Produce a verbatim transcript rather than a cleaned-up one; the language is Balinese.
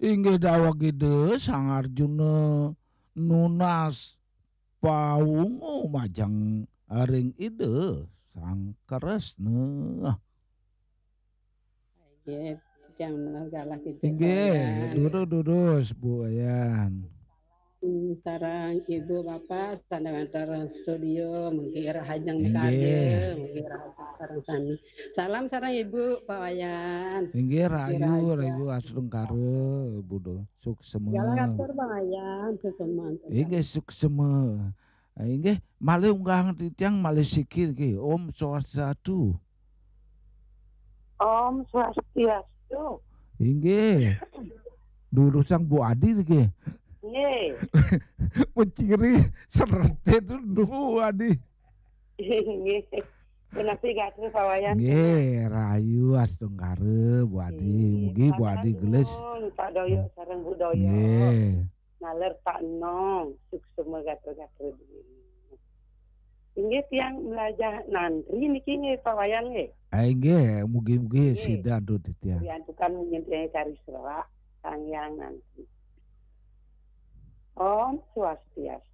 Inggih daweg Ida Sang Arjuna nunas pawungu majeng ring Ida Sang Kresna. Inggih, titiang menawi galah Ida Inggih, Wayan. Durus-durus, Bu Wayan. Hmm, sareng Ibu Bapak, sareng wénten studio, mugi rahajeng Inggih. Karya, mugi rahajeng sareng sami. Salam sareng Ibu, Pak Wayan. Inggih, rahayu, rahayu, rahayu astungkara, Ibu do. Suksema. Galah atur, Pak Wayan, suksema. Inggih, suksema. Inggih, malih unggahang titiang malih siki niki. Om Swastiastu. Om Swastiastu. Inggih. Durusang Bu Adi niki. Nggih. Penciri serete itu Bu Adi. Nggih. Punapi gatra Pak Wayan? Nggih, rahayu astungkara Bu Adi. Nggih. Mugi Bu Adi gelis. Pak Doyo sareng Bu Doyo. Nggih. Naler Pak Enong, suksema gatra-gatra. Inggih, tiang mlajah nantri niki nggih, Pak Wayan nggih. Ah, inggih, mugi-mugi Nggih. Sida antuk titiang. Diantukan nyentuh kari serak, Sang Hyang Nantri. Om Swastiastu.